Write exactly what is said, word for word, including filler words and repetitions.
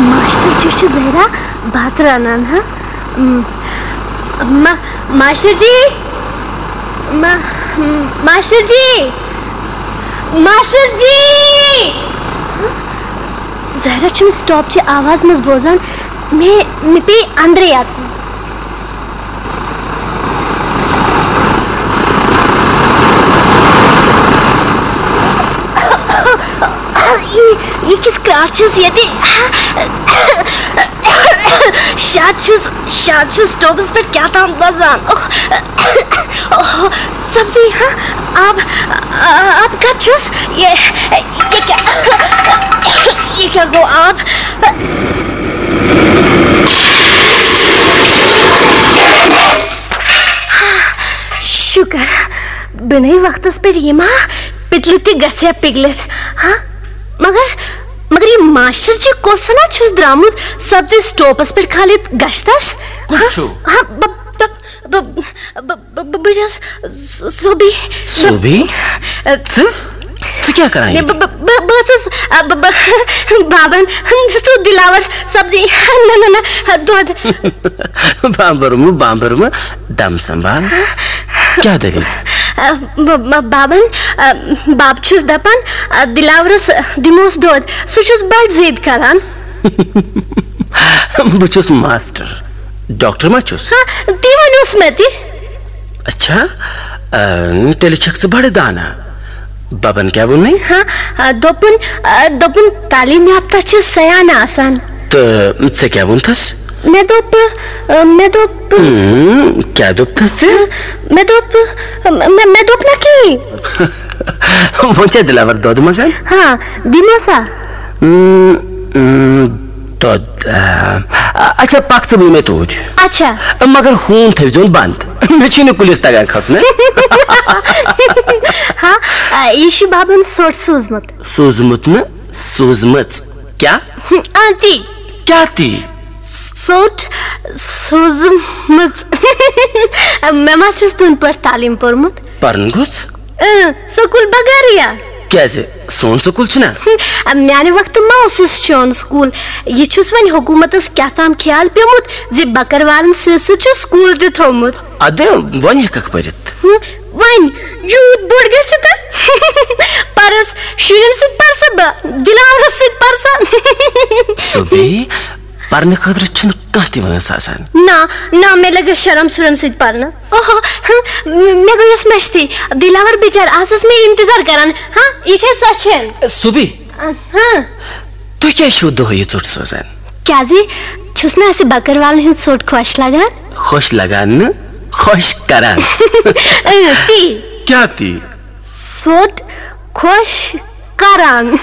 Master جی چھُ زہرا بتہٕ رنان، ہا؟ م-، ما-، ماسٹر جی، ما-، ماسٹر جی، ماسٹر جی۔ زہرا چھُنہٕ سٹاپ چہِ آواز منٛز بوزان۔ مےٚ، مےٚ پیٚیہِ اندرے اژُن۔ یہِ، یہِ کِژھ کرٛاٹھ چھَس ییٚتہِ؟ شاید چھُس، شاید چھُس سٹوپس پٮ۪ٹھ کیٛاہ تام دَزان۔ اوہ، اوہ، سبزی، ہا؟ آب، آب کَتہِ چھُس؟ یہِ، یہِ کیٛاہ، یہِ کیٛاہ گوٚو آب؟ شُکر، بہٕ نَے وقتس پٮ۪ٹھ یِما، پِتلہٕ تہِ گژھِ ہا پِگلِتھ۔ ہا؟ مگر، مگر یہِ ماسٹر جی کۄس ہنا چھُس درٛامُت سبزی سٹوپس پٮ۪ٹھ کھالِتھ گشتس؟ کُس ہا؟ چھُ؟ ہا، بہٕ، بہٕ، بہٕ، بہٕ، بہٕ، بہٕ چھَس س-، سوبی۔ سوبی؟ ژٕ؟ ژٕ کیٛاہ کران ییٚتہِ؟ بہٕ، بہٕ، بہٕ، بہٕ ٲسٕس، آ، بہٕ، بہٕ، بابن سُہ دِلاور سبزی، نہ، نہ، نہ، دۄد۔ بامبرمہٕ، بامبرمہٕ، دم سنبھال۔ کیٛاہ دٔلیٖل؟ آ، ب-، ب-، بابن، آ، بب چھُس دپان، آ، دِلاورس دِموس دۄد، سُہ چھُس بڑٕ ضد کران۔ بہٕ چھُس ماسٹر، ڈاکٹر ما چھُس؟ ہاں، تی ونیوس مےٚ تہِ۔ اچھا، آ، تیٚلہِ چھکھ ژٕ بڑٕ دانا۔ ببن کیٛاہ ووٚنُے؟ ہاں، آ، دوٚپُن، آ، دوٚپُن تعلیٖم یافتہ چھِ سیان آسان۔ تہٕ ژےٚ کیٛاہ ووٚنتھس؟ مےٚ دوٚپ، آ، مےٚ دوٚپ، ہم، کیٛاہ دوٚپتھس ژےٚ؟ مےٚ دوٚپ، مےٚ، مےٚ دوٚپ نہ کِہیٖنۍ۔ وۄنۍ چھا دِلاور دۄد منٛگان؟ ہاں، دِمو سا۔ ہم، ہم، دۄد، آ، اچھا، پکھ ژٕ بہٕ یِمے توٗرۍ۔ اچھا۔ مگر ہوٗن تھٲوزیون بنٛد۔ مےٚ چھُے نہٕ کُلِس تگان کھسُن۔ ہاں، آ، یہِ چھُ بابن ژوٚٹ سوٗزمُت۔ سوٗزمُت نہٕ، سوٗزمٕژ۔ کیٛاہ؟ آ، تی۔ کیٛاہ تی؟ ژوٚٹ سوٗزمٕژ۔ مےٚ ما چھُس تُہنٛدِ پٲٹھۍ تعلیٖم پوٚرمُت؟ پرُن گوٚژھ۔ اۭں، سکوٗل بغٲرٕے یا؟ کیٛازِ؟ سون سکوٗل چھُنہ؟ میانہِ وقتہٕ ما اوسُس چون سکوٗل؟ یہِ چھُس وۄنۍ حکوٗمتس کیٛاہ تام خیال پیومُت زِ بکروالن سۭتۍ سۭتۍ چھُ سکوٗل تہِ تھومُت۔ ادٕ وۄنۍ ہٮ۪ککھ پٔرِتھ۔ ہُم، وۄنۍ یوٗت بوٚڑ گژھِ تہٕ پرس شُرٮ۪ن سۭتۍ پرسا بہٕ، دِلاورس سۭتۍ پرسا؟ سُبی، پرنہٕ خٲطرٕ چھُنہٕ کانٛہہ تہِ وٲنٛس آسان۔ نہ، نہ، مےٚ لگہِ شرم شُرٮ۪ن سۭتۍ پرنہٕ۔ اوہو، ہم، مےٚ گوٚو یُس مٔشتھٕے۔ دِلاور بِچار آسس مےٚ انتظار کران۔ ہاں، یہِ چھےٚ ژۄچھٮ۪ن۔ سُبی، ہاں۔ تُہۍ کیٛازِ چھِو دۄہے یہِ ژوٚٹ سوزان؟ کیٛازِ؟ چھُس نہٕ اَسہِ بکروالن ہُنٛد ژوٚٹ خۄش لگان؟ خۄش لگان نہٕ، خۄش کران۔ اۭں، تی۔ کیٛاہ تی؟ ژوٚٹ خۄش کران۔